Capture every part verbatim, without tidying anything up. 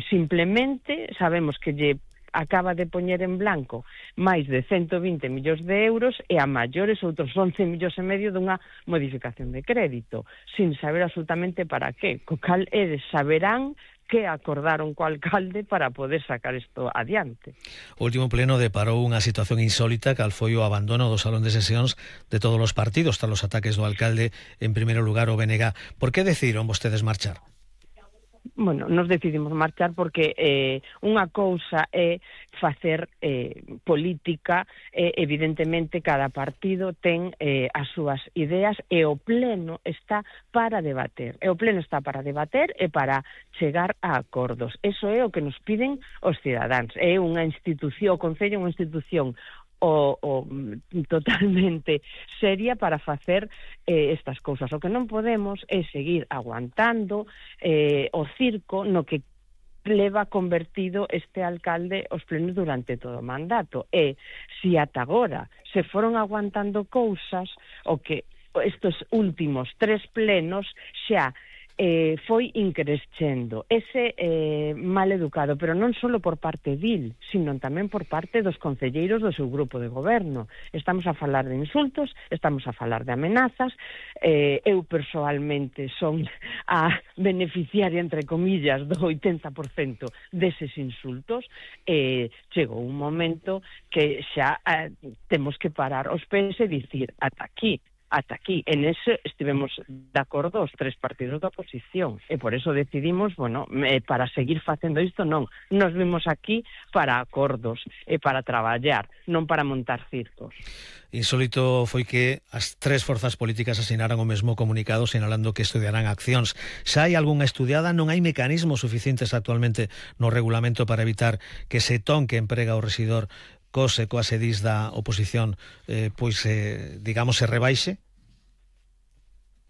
simplemente sabemos que lle acaba de poñer en blanco máis de ciento vinte millóns de euros e a maiores outros once millóns e medio dunha modificación de crédito, sin saber absolutamente para qué. Co cal eles saberán que acordaron co alcalde para poder sacar isto adiante. O último pleno deparou unha situación insólita cal foi o abandono do salón de sesións de todos os partidos tras os ataques do alcalde, en primeiro lugar o B N G. Por que decidiron vostedes marchar? Bueno, nos decidimos marchar porque eh, unha cousa é facer eh, política, eh, evidentemente cada partido ten eh, as súas ideas e o pleno está para debater, e o pleno está para debater e para chegar a acordos. Eso é o que nos piden os cidadáns. É unha institución, o Concello é unha institución O, o totalmente seria para facer eh, estas cousas. O que non podemos é seguir aguantando eh, o circo no que leva convertido este alcalde os plenos durante todo o mandato. E se ata agora se foron aguantando cousas, o que estes últimos tres plenos xa Eh, foi increscendo ese eh, mal educado, pero non só por parte dil, sino tamén por parte dos concelleiros do seu grupo de goberno. Estamos a falar de insultos, estamos a falar de amenazas. eh, eu persoalmente son a beneficiaria, entre comillas, do oitenta por cento deses insultos. eh, chegou un momento que xa eh, temos que parar os pés e dicir ata aquí. Ata aquí, en ese estivemos de acordo os tres partidos da oposición e por eso decidimos, bueno, eh, para seguir facendo isto non, nos vimos aquí para acordos e para traballar, non para montar circos. Insólito foi que as tres forzas políticas asinaran o mesmo comunicado sinalando que estudiarán accións. Xa hai algunha estudiada? Non hai mecanismos suficientes actualmente no regulamento para evitar que ese ton que emprega o rexidor cose coas edís da oposición eh, pois, eh, digamos, se rebaixe?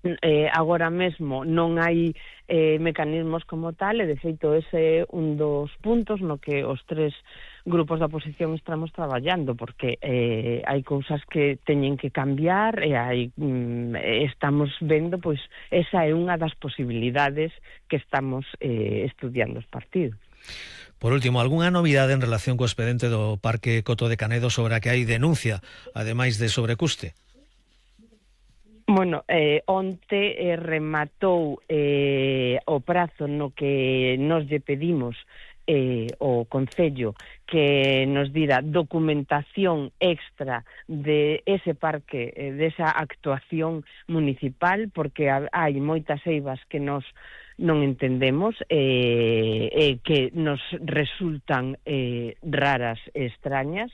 Eh, agora mesmo non hai eh, mecanismos como tal, e de feito ese é un dos puntos no que os tres grupos da oposición estamos traballando, porque eh, hai cousas que teñen que cambiar e hai, mm, estamos vendo, pois esa é unha das posibilidades que estamos eh, estudiando os partidos. Por último, algunha novidade en relación co expediente do Parque Coto de Canedo sobre a que hai denuncia, ademais de sobrecuste? Bueno, eh, onte eh, rematou eh, o prazo no que nos lle pedimos eh, o Concello que nos dira documentación extra de ese parque, eh, desa actuación municipal, porque hai moitas eivas que nos non entendemos e eh, eh, que nos resultan eh, raras e extrañas.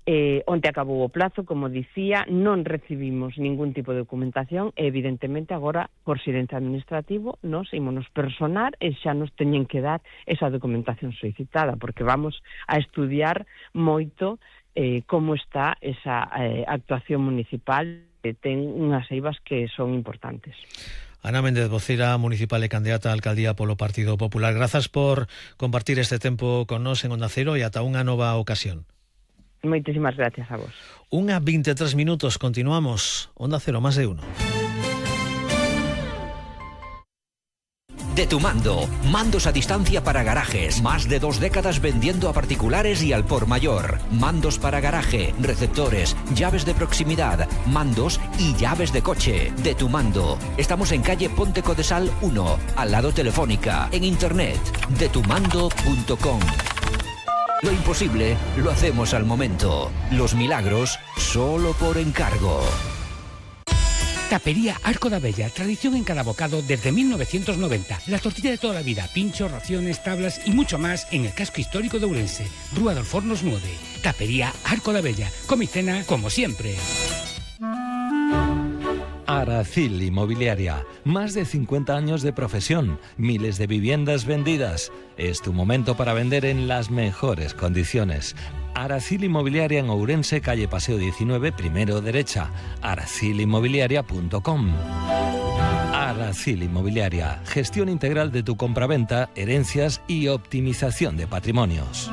Eh, onte acabou o plazo, como dicía, non recibimos ningún tipo de documentación e evidentemente agora, por silencio administrativo, nos ímonos personar e xa nos teñen que dar esa documentación solicitada, porque vamos a estudiar moito eh, como está esa eh, actuación municipal, que ten unhas eivas que son importantes. Ana Méndez, vocera municipal e candidata a alcaldía polo Partido Popular. Grazas por compartir este tempo con nós en Onda Cero e ata unha nova ocasión. Moitísimas gracias a vos. Unha vinte e tres minutos, continuamos. Onda Cero, más de uno. De tu mando, mandos a distancia para garajes, más de dos décadas vendiendo a particulares y al por mayor. Mandos para garaje, receptores, llaves de proximidad, mandos y llaves de coche. De tu mando. Estamos en calle Ponte Codesal uno, al lado Telefónica, en internet, de tu mando punto com. Lo imposible lo hacemos al momento. Los milagros solo por encargo. Tapería Arco da Bella, tradición en cada bocado desde mil novecientos noventa. La tortilla de toda la vida, pinchos, raciones, tablas y mucho más en el casco histórico de Ourense. Rúa dos Fornos nueve. Tapería Arco da Bella. Come y cena como siempre. Aracil Inmobiliaria. Más de cincuenta años de profesión, miles de viviendas vendidas. Es tu momento para vender en las mejores condiciones. Aracil Inmobiliaria en Ourense, calle Paseo diecinueve, primero derecha. aracil inmobiliaria punto com. Aracil Inmobiliaria. Gestión integral de tu compraventa, herencias y optimización de patrimonios.